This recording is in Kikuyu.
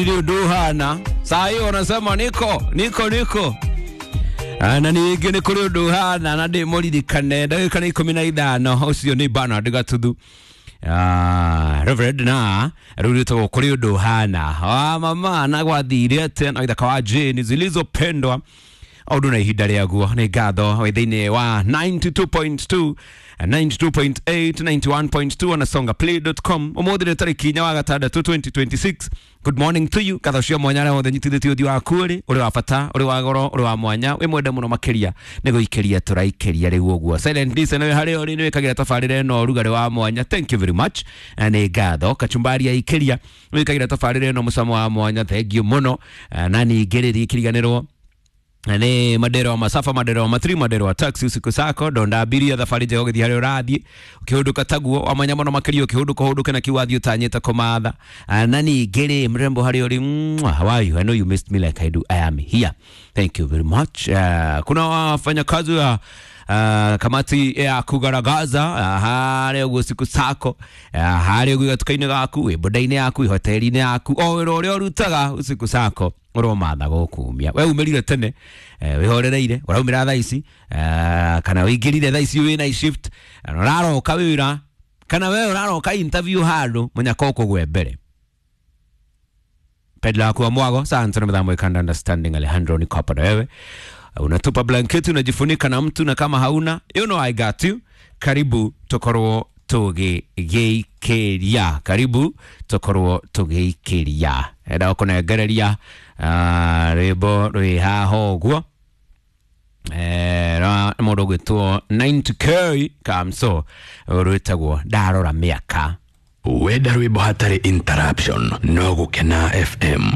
Nduhana saa hiyo wanasema niko niko niko na ningĩ nĩ kũrĩ ũndũ ũhana na ndĩmũririkane ndagĩka nĩ 15 ũcio nĩ Bernard Gatuthu. Reverend na rĩu rĩtagwo kũrĩ ũndũ ũhana wa mama na gwathire atĩa na ithaka wa Jane zilizopendwa ũndũ na ihinda rĩaguo nĩ ngatho wĩ thĩinĩ wa 92.2, 92.8, 91.2 na songaplay.com. Ũmũthĩ nĩ tarĩki 4 wa gatandatũ 2026. Good morning to you. Ngatho cia mwanya arĩa othe nyitithĩtie ũthiũ waku ũrĩ ũrĩ wa bata, ũrĩ wa goro, ũrĩ wa mwanya, wĩ mwende mũno makĩria nĩ gũikĩria tũraikĩria rĩu ũguo. Silent Listen wĩ harĩa ũrĩ nĩ wĩkagĩra tabarĩra ĩno ũrugarĩ wa mwanya. Thank you very much. Na nĩ ngatho kachumbari ya ikĩria wĩkagĩra tabarĩra ĩno mũcamo wa mwanya. Thank you mũno. Na ningĩ rĩrĩ ikĩriganĩrwo nĩ madero wa masafa, madero wa matri, madero wa taxi usiku sako ndonda abiria thabarĩ njega ũgĩthiĩ harĩa ũrathiĩ ũkĩhũndũka taguo wamanya mũno makĩria ũkĩhũndũka ũhũndũke na kiu wathiĩ ũtanyĩte kũmatha. Na ningĩ rĩ mrembo harĩa ũrĩ, mwah, how are you? I know you missed me like I do. I am here. Thank you very much. Kuna wafanyakazi wa kamati ya kugaragaza harĩa ũguo siku sako, harĩa ũguo gatuka-inĩ gaku, wĩ boda-inĩ yaku, wĩ hoteli-inĩ yaku, o wĩra ũrĩa ũrutaga usiku sako ũromatha gũkumia. We umĩrire tene, wĩhorereire, ũraumĩra thaa ici, kana wĩingĩrire thaa ici wĩna shift na ũraroka wĩra, kana we ũraroka interview handũ mũnyaka ũkũgwe mbere. Pedla waku wa mwago sante na mdhamo ikanda understanding Alejandro niko hapa na wewe. Unatupa blanketi unajifunika na mtu, na kama hauna, you know I got you. Karibu tokorwo tũgĩgĩikĩria, karibu tokorwo tũgĩikĩria. Enda kũnengereria rwĩmbo rwĩ haha ũguo rwa mũndũ ũgwĩtwo 90K Kamso rwĩtagwo ndarora mĩaka. Wenda rwĩmbo hatarĩ interruption no gũkena FM.